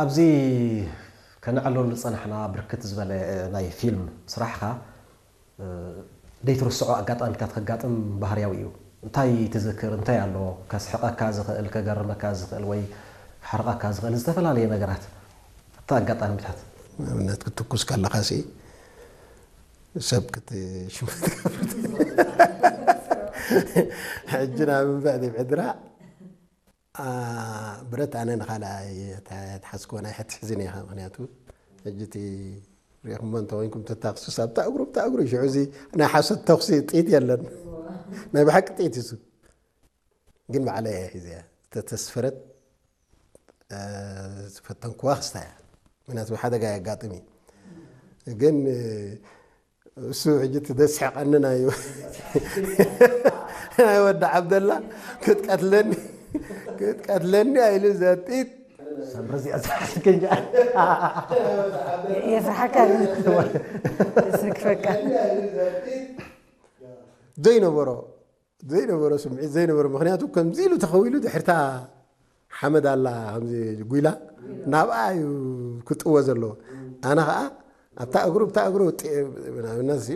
ኣብዚ ከነዕልሉ ዝጸናሕና ብርክት ዝበለ ናይ ፊልም ስራሕኻ፣ እ፣ ዘይትርስዖ ኣጋጣሚታት ከጋጥም ባህርያዊ እዩ። እንታይ ትዝክር? እንታይ ኣሎ ከስሕቐካ ዝኽእል፣ ከገርመካ ዝኽእል ወይ ከሕርቐካ ዝኽእል ዝተፈላለየ ነገራት? እቲ ኣጋጣሚታት። ንኣብነት ክትትኩስ ከለኻሲ ሰብ ክትሽምት ትገብር። ሕጂ ናብ እንብዕ ዲብ ዕድራ፣ ኣ፣ ብረት ኣነ ንኻልኣይ እየ ተሓዝክዎ፣ ናይ ሕትሕዝን እየ። ምኽንያቱ ሕጂ እቲ ሪኢኹሞ እንተኾይንኩም፣ ተታኽሱስ ኣብታ እግሩ፣ ኣብታ እግሩ፣ ሽዑ እዚ ናይ ሓሶት ተኹሲ ጥይት የለን። ናይ ብሓቂ ጥይት እዩ እሱ። ግን ባዕለይ እየ ሒዘያ። እተተስፈረት፣ እ፣ ዝፈተንክዋ ክስታ እያ። ምኽንያቱ ሓደጋ የጋጥም እዩ። ግን፣ እ፣ እሱ ሕጂ እቲ ዘስሕቐኒ ናይ፣ ናይ ወዲ ዓብደላ ክትቀትለኒ፣ ክትቀትለኒ ኢሉ ዘጥይት ሳምሪ እዚኣ ዝሓስከኛ። የፍርሓካ፣ የስክፈካ። ዘይነበሮ፣ ዘይነበሮ ስምዒት ዘይነበሮ። ምኽንያቱ ከምዚ ኢሉ ተኸዊሉ ድሕርታ ሓመድ ኣላ፣ ከምዚ ጉይላ፣ ናብኣ እዩ ክጥወ ዘለዎ። ኣነ ኸኣ ኣብታ እግሩ፣ ኣብታ እግሩ ጢ-፣ ንኣብነት ሲ፣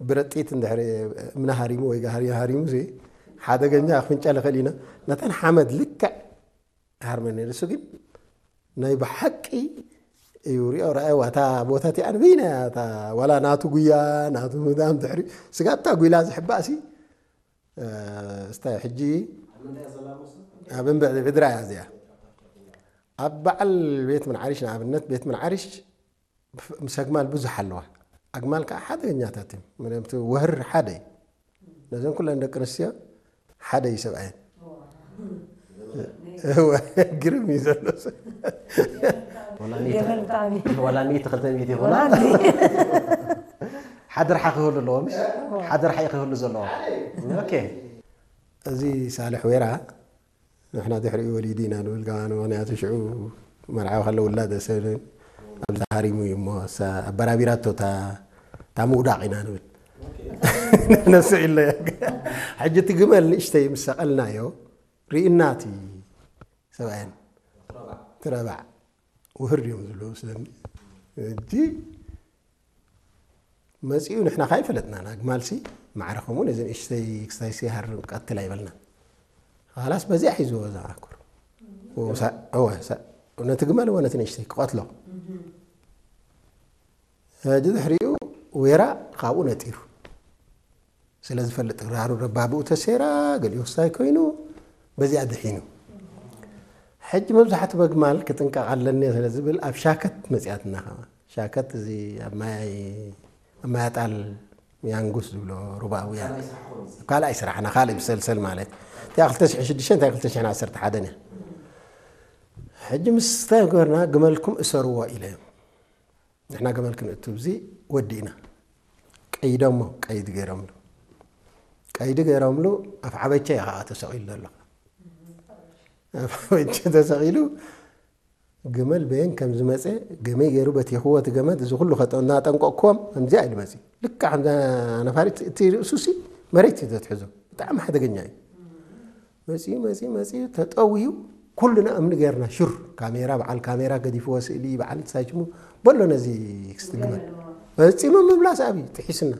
ብረጢት እንድሕሪ እምኒ ሃሪሙ ወይ ጋህሪ ሃሪሙ ሲ፣ ሓደገኛ ክፍንጨል ይኽእል ኢና። ነተን ሓመድ ልክዕ ሃርመኒ። ንሱ ግን ናይ ብሓቂ እዩ ሪኦ፣ ረኣይዋ። እታ ቦታ እቲኣ ንበይና እያ፣ እታ ዋላ ናቱ ጉያ፣ ናቱ ምዳም ድሕሪ ስጋብ እታ ጉይላ ዝሕባእ ሲ፣ እ፣ እስታይ ሕጂ ኣብ እንብዕ ዕድራ እያ እዚኣ። ኣብ በዓል ቤት ምንዓሪሽ፣ ንኣብነት፣ ቤት ምንዓሪሽ ምስ ኣግማል ብዙሕ ኣለዋ። ኣግማል ከዓ ሓደገኛታት እዮም። ምክንያቱ ወህር ሓደ እዩ። ነዘን ኩለን ደቂ ኣንስትዮ ሓደ እዩ ሰብኣየን። እወ፣ ግርም እዩ ዘሎ ሰብ። ወላ ሚእቲ፣ ገመል ብጣዕሚ። ወላ ሚእቲ ክልተ ሚእቲ ይኹና። ወላ ሚእቲ። ሓደ ረሓ ክህሉ ኣለዎ፣ ምሽ? ሓደ ረሓ እዩ ክህሉ ዘለዎ። ኦኬ። እዚ ሳልሕ ወይራ ንሕና ድሕሪኡ ወሊዱ ኢና ንብል፣ ከማን ምኽንያቱ ሽዑ መርዓዊ ከሎ ውላድ ኣይሰብልን። ኣብዚ ሃሪሙ እዩ እሞ፣ እሳ ኣበራቢራቶ እታ፣ እታ ምውዳቕ ኢና ንብል። ነሱ ኢለ። ሕጂ እቲ ግመል ንእሽተይ ምስ ሰቐልናዮ፣ ርኢና እቲ ሰብኣየን። ትረባዕ። ውህር እዮም ዝብሉ ስለኒ። ሕጂ መጺኡ ንሕና ካይፈለጥናን፣ ኣግማልሲ ማዕረ ከምኡ ነዘን እሽተይ ክስታይሲ ሃርም ቀትል ኣይበልና። ኻላስ በዚኣ ሒዝዎ እዛ ዓኩር። ወሳ-፣ እወ፣ ሳ-፣ ነቲ ግመል እወ ነቲ ንእሽተይ ክቐትሎ። ሕጂ ድሕሪኡ ወይራ ካብኡ ነጢሩ። ስለ ዝፈልጥ ራሩ ረባብኡ ተሴራ፣ ገሊኡ ክስታይ ኮይኑ፣ በዚኣ ድሒኑ። ሕጂ መብዛሕትኡ በግማል ክጥንቀቕ ኣለኒ ስለ ዝብል ኣብ ሻከት መጺኣትና ኸማ። ሻከት እዚ ኣብ ማይ፣ ኣብ ማይ ኣጣል ያንጉስ ዝብሎ ሩባውያን። ካልኣይ ስራሕና፣ ካልእ ብሰልሰል ማለት። እቲኣ ክልተ ሽሕን ሽዱሽተን፣ እቲኣ ክልተ ሽሕን ዓሰርተ ሓደን እያ። ሕጂ ምስ ተገርና ግመልኩም እሰርዎ ኢለዮም። ንሕና ገመል ክንእቱ ኣብዚ ወዲእና። ቀይዶሞ፣ ቀይዲ ገይሮምሉ። ቀይዲ ገይሮምሉ፣ ኣፍ ዓበቻ እዩ ከዓ ተሰቒሉ ዘሎ። ኣፍ ዓበቻ ተሰቒሉ፣ ግመል በየን ከም ዝመፀ፣ ገመይ ገይሩ በቲኽዎ እቲ ገመድ፣ እዚ ኩሉ ከጠ-፣ እናጠንቀቕክዎም፣ ከምዚኣ ኢሉ መፂ። ልክዕ ከምዛ ነፋሪት፣ እቲ ርእሱሲ መሬት እዩ ዘትሕዞ። ብጣዕሚ ሓደገኛ እዩ። መጺኡ፣ መጺኡ፣ መጺኡ፣ ተጠውዩ፣ ኩልና እምኒ ጌርና፣ ሹር፣ ካሜራ፣ በዓል ካሜራ ገዲፍዎ ስእሊ፣ በዓል እንታይ ሽሙ፣ በሎ ነዚ ክስቲ ግመል። ፈጺሙ ምምላስ ኣብዩ፣ ጥሒስና።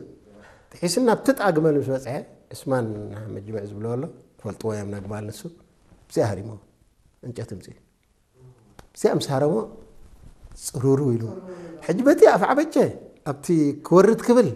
ጥሒስና፣ ኣብቲ ጥቓ ግመል ምስ በጽሐ፣ ዕስማን መጅምዕ ዝብሎ ኣሎ፣ ፈልጥዎ እዮም ነግማል ንሱ፣ ብዚኣ ሃሪሞ፣ ዕንጨት እምጺኡ። ብዚኣ ምስ ሃረሞ፣ ጽሩሩ ኢሉ። ሕጂ በቲ ኣፍ ዓበቸ፣ ኣብቲ ክወርድ ክብል፣